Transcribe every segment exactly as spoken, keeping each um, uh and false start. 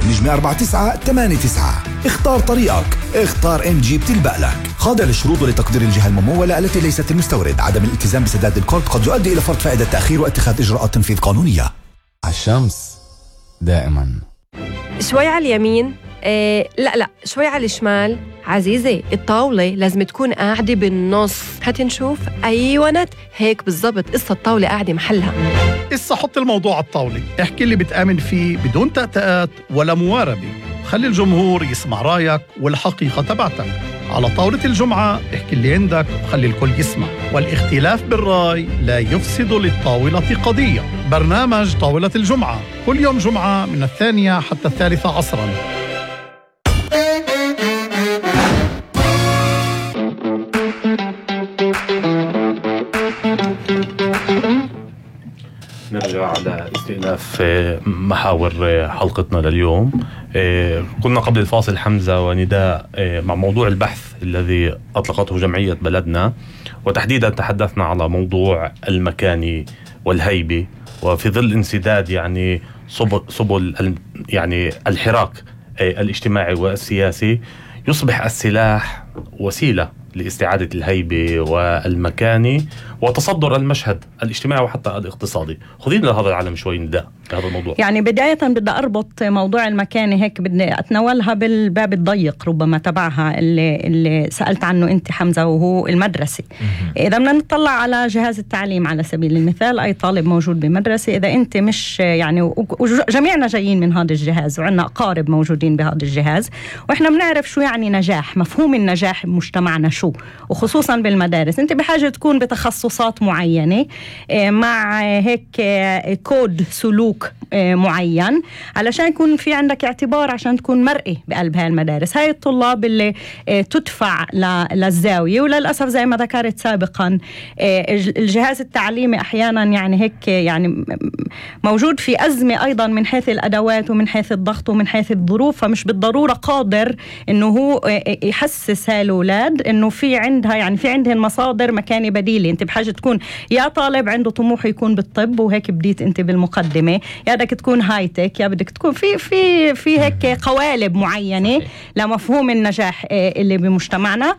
نجمة أربعة تسعة ثمانية تسعة. اختار طريقك، اختار ام جي بتلبق لك. خاضع للشروط ولتقدير الجهة الممولة التي ليست المستورد. عدم الالتزام بسداد الكارت قد يؤدي إلى فرض فائدة تأخير واتخاذ إجراءات تنفيذ قانونية. عالشمس دائما. شوي على اليمين، إيه لا لا شوي على الشمال. عزيزي الطاولة لازم تكون قاعدة بالنص. هتنشوف أيوانت هيك بالضبط. قصة الطاولة قاعدة محلها. قصة حط الموضوع على الطاولة، احكي اللي بتآمن فيه بدون تأتأات ولا مواربة. خلي الجمهور يسمع رايك والحقيقة تبعتك. على طاولة الجمعة احكي اللي عندك وخلي الكل يسمع. والاختلاف بالرأي لا يفسد للطاولة قضية. برنامج طاولة الجمعة كل يوم جمعة من الثانية حتى الثالثة عصراً. نرجع على استئناف محاور حلقتنا لليوم. كنا قبل الفاصل حمزة ونداء مع موضوع البحث الذي أطلقته جمعية بلدنا، وتحديدا تحدثنا على موضوع المكاني والهيبة، وفي ظل انسداد يعني سبل, سبل يعني الحراك الاجتماعي والسياسي يصبح السلاح وسيلة لاستعادة الهيبة والمكاني وتصدر المشهد الاجتماعي وحتى الاقتصادي. خذينا لهذا العالم شوي نداء هذا الموضوع. يعني بداية بدي أربط موضوع المكاني هيك، بدي أتناولها بالباب الضيق ربما تبعها اللي, اللي سألت عنه أنت حمزة، وهو المدرسة. إذا بدنا نطلع على جهاز التعليم على سبيل المثال، أي طالب موجود بمدرسة إذا أنت مش يعني، جميعنا جايين من هذا الجهاز وعندنا أقارب موجودين بهذا الجهاز، وإحنا بنعرف شو يعني نجاح، مفهوم النجاح بمجتمعنا شو، وخصوصا بالمدارس. أنت بحاجة تكون بتخصصات معينة مع هيك كود سلوك معين علشان يكون في عندك اعتبار، عشان تكون مرئي بقلب هاي المدارس. هاي الطلاب اللي تدفع للزاوية، وللأسف زي ما ذكرت سابقا الجهاز التعليمي أحيانا يعني هيك يعني موجود في أزمة أيضا من حيث الأدوات ومن حيث الضغط ومن حيث الظروف، فمش بالضرورة قادر إنه هو يحسس هاي الأولاد إنه في عندها يعني في عندهن مصادر مكاني بديلة. أنت بحاجة تكون يا طالب عنده طموح يكون بالطب، وهيك بديت أنت بالمقدمة، يا بدك تكون هايتك، يا بدك تكون في في في هيك قوالب معينة لمفهوم النجاح اللي بمجتمعنا.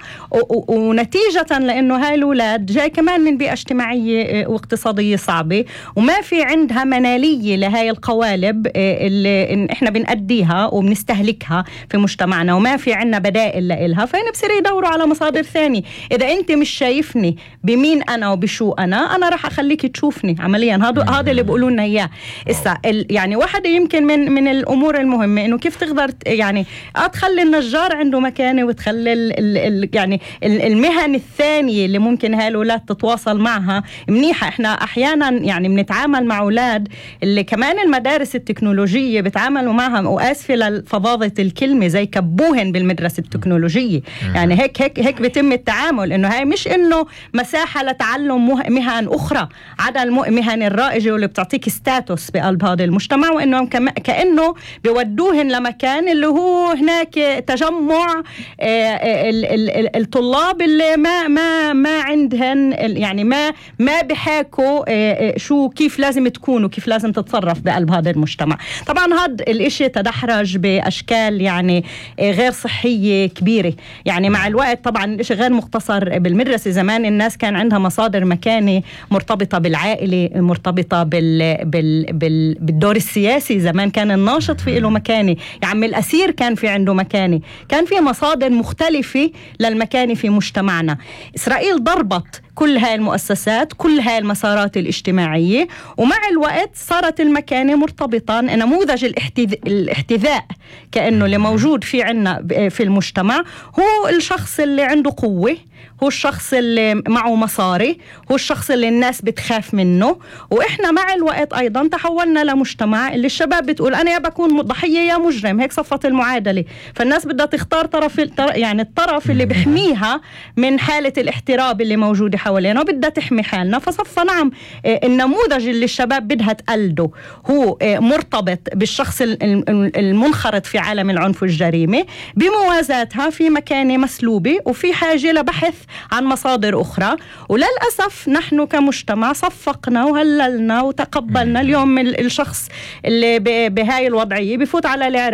ونتيجة لأنه هاي الأولاد جاي كمان من بيئة اجتماعية واقتصادية صعبة، وما في عندها منالية لهاي القوالب اللي إحنا بنأديها وبنستهلكها في مجتمعنا، وما في عنا بدائل لإلها، فين بصير يدوروا على مصادر ثانية. إذا أنت مش شايفني بمين أنا وبشو أنا، أنا رح أخليك تشوفني عمليا. هذا هذا اللي بيقولوا لنا إياه. إسا يعني واحدة يمكن من من الأمور المهمة إنه كيف تقدر يعني تخلي النجار عنده مكانة، وتخلي ال ال يعني المهن الثانية اللي ممكن هاي الأولاد تتواصل معها منيحة. إحنا أحيانا يعني بنتعامل مع أولاد اللي كمان المدارس التكنولوجية بتعاملوا معها، وآسفة لفظاظة الكلمة، زي كبوهن بالمدرسة التكنولوجية. يعني هيك هيك هيك بيتم التعامل، إنه هاي مش إنه مساحة لتعلم مهن أخرى عدا المهن الرائجة واللي بتعطيك ستاتوس بقلب هذا المجتمع، وإنهم كأنه بيودوهن لمكان اللي هو هناك تجمع الطلاب اللي ما ما ما عندهن يعني ما ما بحاكوا شو كيف لازم تكونوا، كيف لازم تتصرف بقلب هذا المجتمع. طبعا هذا الاشي تدحرج بأشكال يعني غير صحية كبيرة. يعني مع الوقت طبعا الاشي غير مقتصر بالمدرسة. زمان الناس كان عندها مصادر مكانة مرتبطة بالعائلة، مرتبطة بال بال بال بالدور السياسي. زمان كان الناشط في له مكانة، يعني الأسير كان في عنده مكانة، كان في مصادر مختلفة للمكانة في مجتمعنا. إسرائيل ضربت كل هاي المؤسسات، كل هاي المسارات الاجتماعية، ومع الوقت صارت المكانة مرتبطة. نموذج الاحتذاء كأنه اللي موجود في عنا في المجتمع هو الشخص اللي عنده قوة، هو الشخص اللي معه مصاري، هو الشخص اللي الناس بتخاف منه. وإحنا مع الوقت أيضا تحولنا لمجتمع اللي الشباب بتقول أنا يا بكون ضحية يا مجرم. هيك صفت المعادلة. فالناس بدها تختار طرف، يعني الطرف اللي بيحميها من حالة الاحتراب اللي موجودة حوالينا، وبدها تحمي حالنا. فصفى نعم النموذج اللي الشباب بدها تقلده هو مرتبط بالشخص المنخرط في عالم العنف والجريمة، بموازاتها في مكانة مسلوبة وفي حاجة لبحث عن مصادر أخرى. وللأسف نحن كمجتمع صفقنا وهللنا وتقبلنا. اليوم الشخص اللي بهاي الوضعية بفوت على الإعراب